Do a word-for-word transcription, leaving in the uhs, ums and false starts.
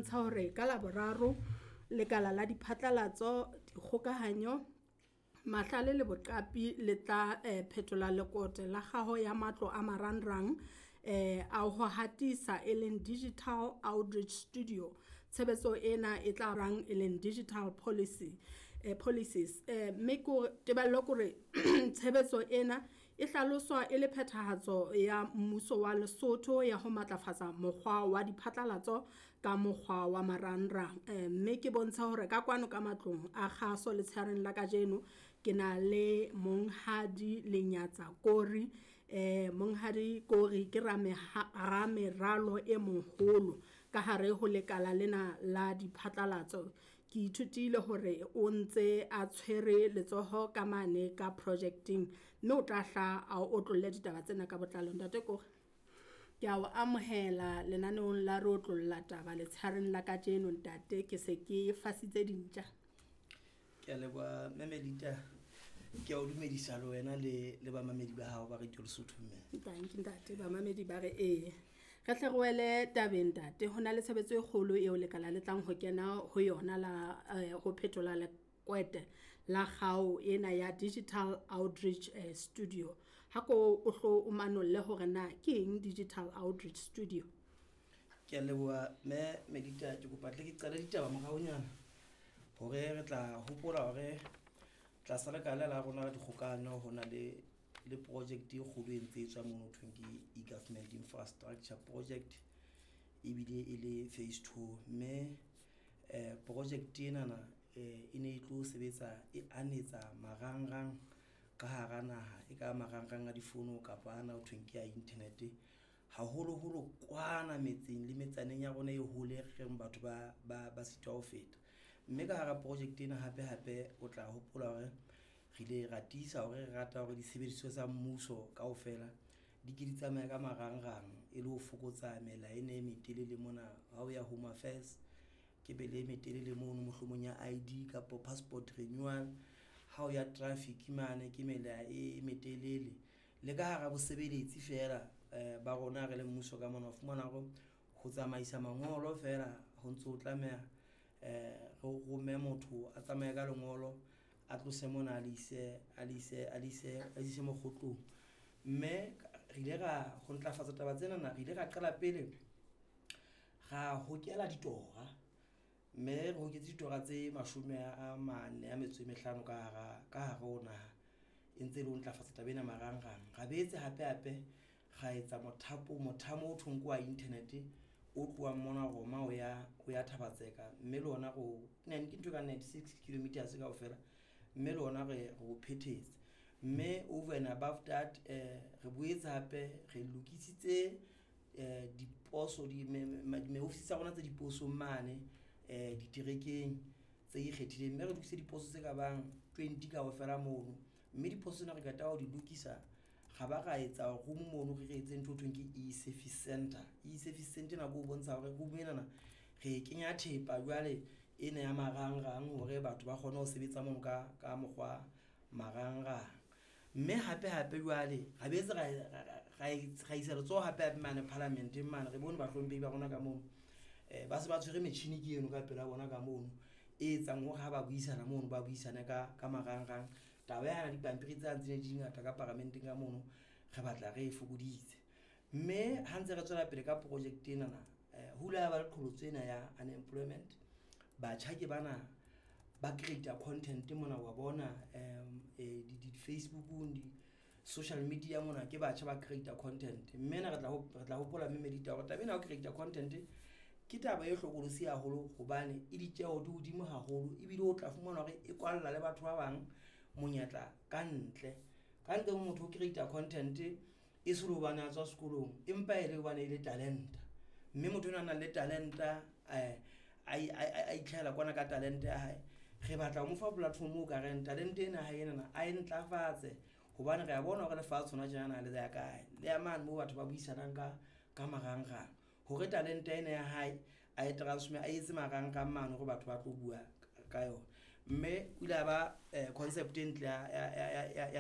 bontsha hore ka Laboraro lekala la diphatlalatso, dikgokahanyo, mahlale le boqapi le tla eh, phetola lekote la kgaho ya matlo a marangrang eh, a ho hatisa e leng digital outreach studio. Tshebetso ena e tla rang e leng digital policy eh, policies eh, mme ko tebello kore tshebetso ena e hlaloswa e le phethahatso ya mmuso wa Lesotho ya ho matlafatsa mokgwa wa diphatlalatso ka mokgwa wa marangrang. Eh, mme ke bontsha hore ka kwano ka matlong a kgaso letshehareng la kajeno ke na le Monghadi Lenyatsa Kori. Eh, Monghadi Kori ke rameralo e moholo ka hare ho lekala lena la diphatlalatso. Ke ithutile hore o ntse a tshwere letsoho ka mane ka projecting, mme o tla hla a otlolle ditaba tsena ka botlalo. Ntate Kori, ke a o amohela lenaneong la re otlolla taba letshehareng la kajeno ntate, ke se ke fasitse dintja. Ke a leboha mme Melita, ke a o dumedisa le wena le le bamamedi ba hao ba Radio Lesotho mme. Thank you ntate, bamamedi ba re ee. Re hle re wele tabeng ntate, ho na le tshebetso e kgolo eo lekala le tlang ho kena ho yona la eh, ho phetola lekwete la kgao ena ya digital outreach eh, studio. Ha ko o hlo o manolle hore na ke eng digital outreach studio? Ke a leboha mme Melita, ke kopa tle ke qale ditaba moraonyana hore re tla hopola hore tlasa lekala la rona la dikgokahano ho na le le project e kgolo e ntse e tswa mono ho thweng ke e-government infrastructure project, ebile e le phase two. Mme eh project enana eh e ne e tlo sebetsa e anetsa marangrang ka hara naha, e ka marangrang a difono kapa ana ho thweng ke a internet, haholoholo kwana metseng le metsaneng ya rona e hole reng batho ba ba ba sitwa ho feta. Mme ka hara project ena hape hape o tla hopola hore re ile ra tiisa hore re rata hore disebediswa tsa mmuso kaofela di ke di tsamaye ka marangrang e le ho fokotsa mela ena e metelele mona. Ha o ya Home Affairs ke mela e metelele mono, mohlomong ya I D kapo passport renewal. Ha o ya traffic mane ke mela e metelele. Le ka hara bosebeletsi feela eh ba rona re le mmuso ka mona, o fumana hore ho tsamaisa mangolo feela ho ntso tlameha eh re rome motho a tsamaye ka lengolo a tlose mona a le ise, a le ise, a le ise, a le ise mokgotlong. Mme re ile ra ho ntlafatsa taba tsena, re ile ra qala pele ra hokela ditora, mme re hoketse ditora tse mashome a mane a metso e mehlano ka hara, ka hare ho naha, e ntse e le ho ntlafatsa taba ena marangrang. Ra boetse hape hape ra etsa mothapo, mothamo o thweng ke wa internet o tlohang mona Roma o ya, o ya Thaba-Tseka, mme le ona ro ke ntho e ka ninety-six kilometers kaofela, mme le ona re, re o phethetse. Mme over and above that eh re boetse hape re lokisitse eh diposo, di me, me, me, ofisi tsa rona tse diposong mane eh diterekeng tse ikgethileng, mme re lokisitse diposo tse ka bang twenty kaofela mono. Mme diposo tsena re qeta ho di lokisa, ra ba ra etsa room mono, re re etse ntho e thweng ke e-service center. E-service center ena ke ho bontsha hore room enana re e kenya thepa jwale ena ya marangrang hore batho ba kgone ho sebetsa mono ka, ka mokgwa marangrang. Mme hape hape jwale ra boetse ra, ra, ra, ra isa letsoho hape hape mane parliamenteng mane, re bone bahlomphehi ba rona ka mono eh ba se ba tshwere metjhini ke eno ka pela bona ka mono e etsang hore ha ba buisana mono ba buisane ka, ka marangrang. Taba ya dipampiri tse ntse di ngata ka paramenteng ka mono re batla re e fokoditse. Mme ha ntse re tswela pele ka project enana eh ho ile ha ba le qholotso ena ya unemployment. Batjha ke bana ba create content mona wa bona em, eh, di, di Facebookong, di social media mona ke batjha ba create content. Mme na re tla hop-, re tla hopola mme Melita hore taba ena ya ho create content ke taba e hlokolosi haholo, hobane e ditjeho di hodimo haholo, ebile o tla fumana hore e kwalla le batho ba bang monyetla ka ntle. Ka ntle motho o create content e se le hobane a tswa sekolong, empa e le hobane e le talenta. Mme motho enwa a nang le talenta eh a i-, a i-, a itlhahela kwana ka talente ya hae, re batla ho mo fa platform o ka reng talente ena hae enana a e ntlafatse, hobane re a bona hore lefatshe hona tjenana le ya kae, le ya mane moo batho ba buisanang ka, ka marangrang, hore talente ena ya hae a e transform, a etse marangrang mane hore batho ba tlo bua ka yona. Mme o ile a ba, eh, concept e ntle ya, ya, ya, ya, ya